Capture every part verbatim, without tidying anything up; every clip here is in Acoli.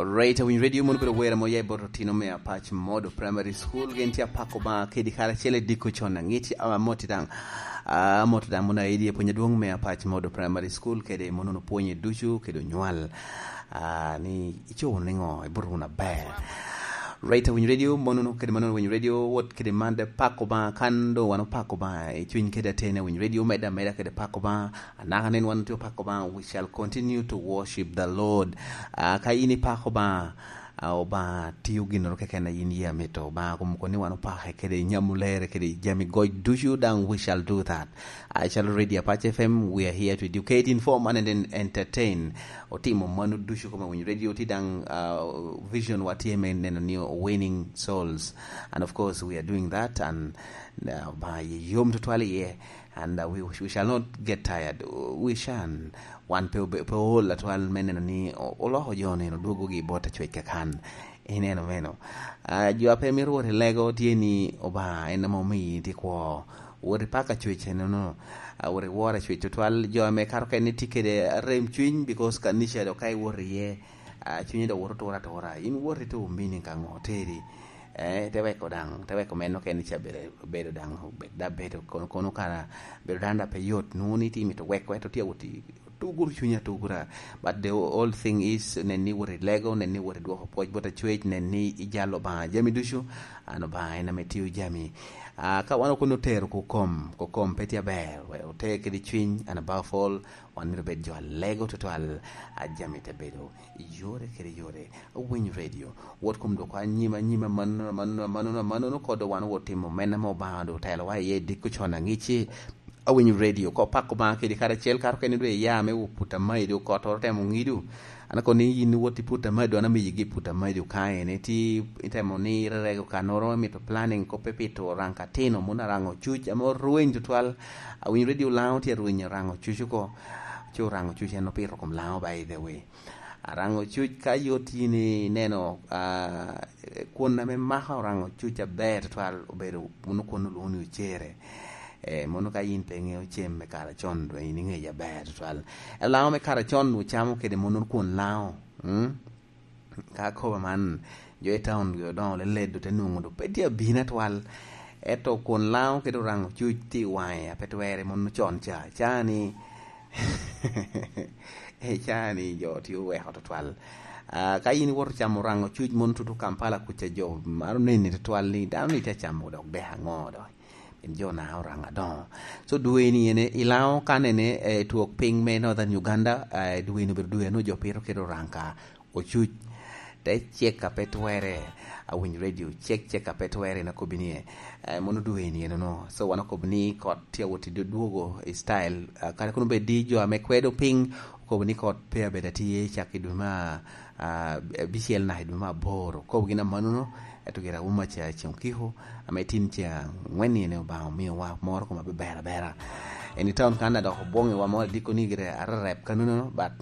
Alright, Awiny Radio mono bedo wera mo ya boto tino me Apac Modo Primary School gen ti apako ba kedi kara chele diko chona ngiti awa moti dang uh, moti dang mona idi puonyo duong me Apac Modo Primary School kede mono no puonye ducu kedo nywal uh, ni icho ningo iburu na ber. Right, Awiny Radio mono no kede mono Awiny Radio wot kede mande pako ba kando wano pako ba e chwiny kede atene Awiny Radio meda meda kede pako ba anaka nen wano tio pako ba we shall continue to worship the Lord. Uh, ka ini pako ba uh, oba tiyo ginoro keken na in yie mito ba kum koni wano pake kede nyamulere kede jami goj ducu dang we shall do that. I shall radio Apache F M, we are here to educate, inform and then entertain. Otimo manu ducu kama Winyo Radio ti dang uh, vision wa T M N neno ni winning souls, and of course we are doing that and uh, by yom tutwali ye and uh, we, we shall not get tired. We shan wan pe pe ol atwal meneno ni oloho jone no duogo gi bota chwech kakan ineno meno uh, jo ape mi ruote lego tieni oba en mo mi ti kwo wori paka chwech no no uh, wori wora chwech tutwal jo me karo ken tikede rem chwiny because kanisha do kai wori ye uh, chwiny do woro tora tora in wori to mini kango teri eh te weko dang te weko meno ken cha bere bedo dang da bedo kono kono kara bedo danda pe yot nuni ti mito weko to ti wuti tugur chunya tugura but the whole thing is nenni wori lego nenni wori duoko poj bota chwech nenni ijalo ba jami ducu ano ba ena metiu jami uh, ka wano kono tero ko kom ko kom peti aber we ote kedi chwiny and above all wan miro bed jo lego total jami te bedo yore kede yore Winyo Radio wot kum do kwa nyima nyima manono manono manono manono kodo wan wotimo mena mo bando telo wa ye diko chona ngichi Awinyo Radio ko pako ba kedi kara chel kar keni dwe ya me uputa maidu ko to temo ngidu ana ko ni yin woti puta maidu ana mi gi puta maidu kae ne ti itemo ni rego kanoro mi to planning ko pepito ranka tino mona rango chuch amo ruin tutwal Awinyo Radio lao ti ruin rango chuchu ko chu rango chuch no piro kom lao by the way arango chuch ka yotini neno uh, kuon me maha rango chuch aber tutwal obedo muno kuon luoni uchere eh mono ka in penge ochem me kara chon do in nge ya ber twal lao me kara chon u chamo kede mono kuon lao hm ka ko man jo e town go don le ledo te nungo do petia bina twal eto kuon lao kede rango chuch ti waya petwere mono chon cha chani e chani jo ti we hot twal Uh, ka in wor chamo rango chuch mon tutu Kampala kucha jo maro neni twal ni dano ni cha chamo dok be hango do jo na oranga don so duweni ene ilao kanene e tuok piny me Northern Uganda e duweni ber duwe no jo piro kedo ranka ochuch te cheka petwere Awinyo Radio chek cheka petwere na kobinie e, mono duweni ene no so wana kobni kot tia woti duogo e style uh, kare kono be di jo ame kwedo piny kobni kot pe beda tie chaki duma uh, bisiel na duma boro kobgina manuno etugira uma cha chonkiho ametin cha ngweni ne ba mi wa moro kuma bera bera eni town kanda do bonge wa moro diko ni gire arrep kanuno but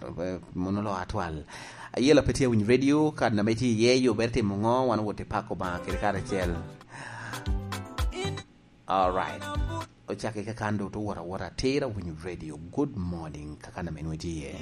mono lo atwal ayela petia Winyo Radio kad na meti ye yo berti mungo wan wote pako ba kere kare chel. All right, ochake kakando to wora wora tera Winyo Radio. Good morning kakanda menwetie.